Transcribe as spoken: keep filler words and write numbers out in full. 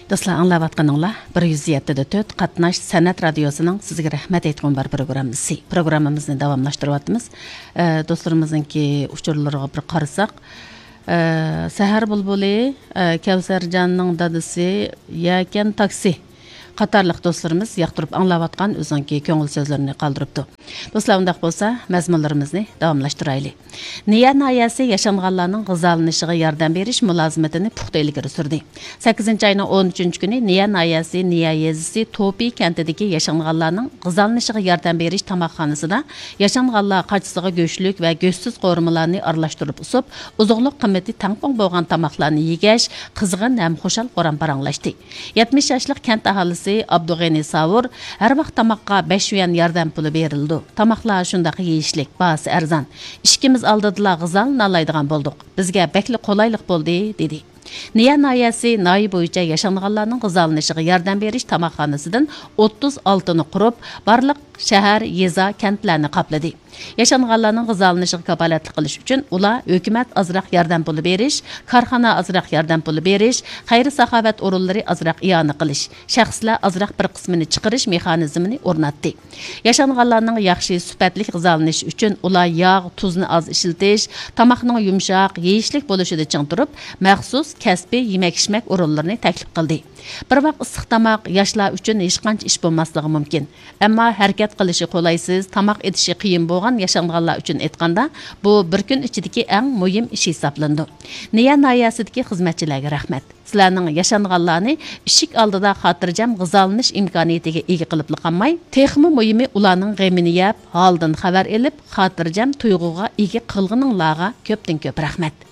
دوستلار، ئاڭلاۋاتقىنىڭلار بىر يۈز يەتتە دە تۆت قاتناش سەنئەت رادىيوسىنىڭ سىزگە رەھمەت ئېيتقۇم بار پروگراممىسى. پروگراممىمىزنى داۋاملاشتۇرۇۋاتىمىز. ئە، دوستلىرىمىزنىڭكى ئۇچۇرلىرىغا بىر قارىساق، ئە، سەھەر بۇلبۇلى، ئە، كەۋسەرجاننىڭ دادىسى، يەكەن تاكسى قاتارلىق دوستلىرىمىز ياقتۇرۇپ ئاڭلاۋاتقان ئۆزىنىڭكى كۆڭۈل سۆزلىرىنى قالدۇرۇپتۇ. دوستلار، ئۇنداق بولسا، مەزمۇنلىرىمىزنى داۋاملاشتۇرايلى. نىيە ناھىيەسى ياشانغانلارنىڭ غىزالىنىشىغا ياردەم بېرىش مۇلازىمىتىنى پۇختا ئىلگىرى سۈردى. سەككىزىنچى ئاينىڭ ئون ئۈچىنچى كۈنى نىيە ناھىيەسى نىيە يېزىسى توپى كەنتىدىكى ياشانغانلارنىڭ غىزالىنىشىغا ياردەم بېرىش تاماقخانىسىدا ياشانغانلار قاچىسىغا گۆشلۈك ۋە گۆشسىز قورۇمىلارنى ئارىلاشتۇرۇپ ئۇسۇپ، ئوزۇقلۇق قىممىتى تەڭپۇڭ بولغان تاماقلارنى يېگەچ، قىزغىن ھەم خۇشال-خۇرام پاراڭلاشتى. يەتمىش ياشلىق كەنت ئاھالىسى ئابدۇغېنى ساۋۇر ھەر ۋاق تاماققا بەش يۈەن ياردەم پۇلى بېرىلىدۇ. تاماقلار شۇنداق يېيىشلىك، باھاسى ئەرزان. ئىشىكىمىز ئالدىدىلا غىزالىنالايدىغان بولدۇق. بىزگە بەكلا قولايلىق بولدى، دېدى. نىيە ناھىيەسى ناھىيە بويىچە ياشانغانلارنىڭ غىزالىنىشىغا ياردەم بېرىش تاماقخانىسىدىن ئوتتۇز ئالتىنى قۇرۇپ، بارلىق شەھەر، يېزا، كەنتلەرنى قاپلىدى. ياشانغانلارنىڭ غىزالىنىشىغا كاپالەتلىك قىلىش ئۈچۈن ئۇلار ھۆكۈمەت ئازراق ياردەم پۇلى بېرىش، كارخانا ئازراق ياردەم پۇلى بېرىش، خەير-ساخاۋەت ئورۇنلىرى ئازراق ئىئانە قىلىش، شەخسلەر ئازراق بىر قىسمىنى چىقىرىش مېخانىزمىنى ئورناتتى. ياشانغانلارنىڭ ياخشى سۈپەتلىك غىزالىنىشى ئۈچۈن ئۇلار ياغ، تۇزنى ئاز ئىشلىتىش، تاماقنىڭ يۇمشاق، يېيىشلىك بولۇشىدا چىڭ تۇرۇپ، مەخسۇس كەسپىي يېمەك-ئىچمەك ئورۇنلىرىنى تەكلىپ قىلدى. بىر ۋاق ئىسسىق تاماق ياشلار ئۈچۈن ھېچقانچە ئىش بولماسلىقى مۇمكىن. ئەمما ھەرىكەت قىلىشى قولايسىز، تاماق ئېتىشى قىيىن بولغان ياشانغانلار ئۈچۈن ئېيتقاندا، بۇ بىر كۈن ئىچىدىكى ئەڭ مۇھىم ئىش ھېسابلىنىدۇ. نىيە ناھىيەسىدىكى خىزمەتچىلەرگە رەھمەت. سىلەرنىڭ ياشانغانلارنى ئىشىك ئالدىدا خاتىرجەم غىزالىنىش ئىمكانىيىتىگە ئىگە قىلىپلا قالماي، تېخىمۇ مۇھىمى ئۇلارنىڭ غېمىنى يەپ، ھالىدىن خەۋەر ئېلىپ، خاتىرجەم تۇيغۇغا ئىگە قىلغىنىڭلارغا كۆپتىن كۆپ رەھمەت.